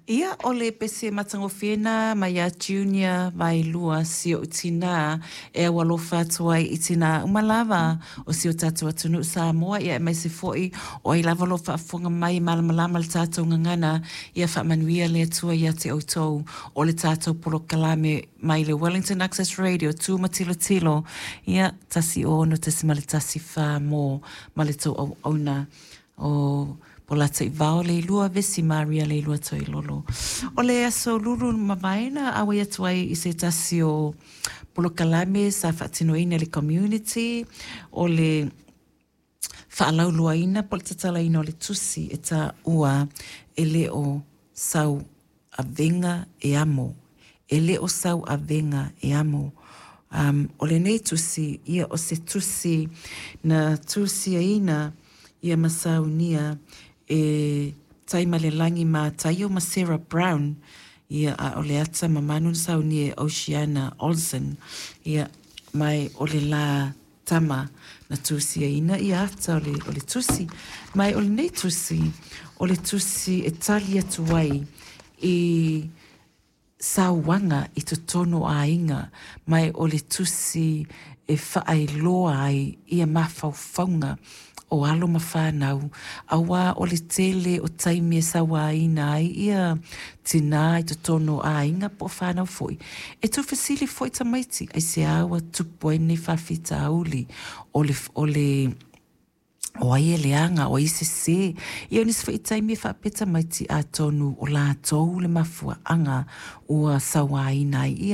Ia, o le pese matagofie lena mai ia Junior Vaelua si ou tinā e aualofa atu ai i tinā uma lava o si o tatou atunuu Samoa, ia aemaise foi o ai lava o lo o faafofoga mai e malamalama i le tatou gagana, ia faamanuia le Atua ia te outou. O le tatou polokalame mai le Wellington Access Radio, Tu ma Tilotilo, ia, 106.14 mo ma le tou auauna. O Polataivao Leilua Vesi Maria Leilua Toilolo. O le aso lulu ua mavae na auai atu ai i se tasi o polokalame sa faatinoina e le community, o le faalauiloaina po o le tatalaina o le tusi e taua e le o sau avega e amo. E le o sau avega e amo. O lenei tusi, ia o se tusi na tusiaina ia ma saunia e Taimalelagi Mataio ma Sarah Brown, ia a o le ata mamanu na saunia e Oceana Olsen, ia ma o le la tama na tusiaina ia ata o le tusi. Ma o lenei tusi, o le tusi e tali atu ai i sauaga i totonu o aiga, ma o le tusi e faailoa ai ia mafaufauga o alo ma fanau, aua o le tele o taimi e sauaina ai ia tinā i totonu o aiga po o fanau foi. E tuufesili foi tamaiti, aisea ua tupu ai lenei faafitauli, o o ai e leaga, o ai e sesē. Ia o nisi foi taimi e faapea tamaiti atonu o latou le mafuaaga ua sauaina ai.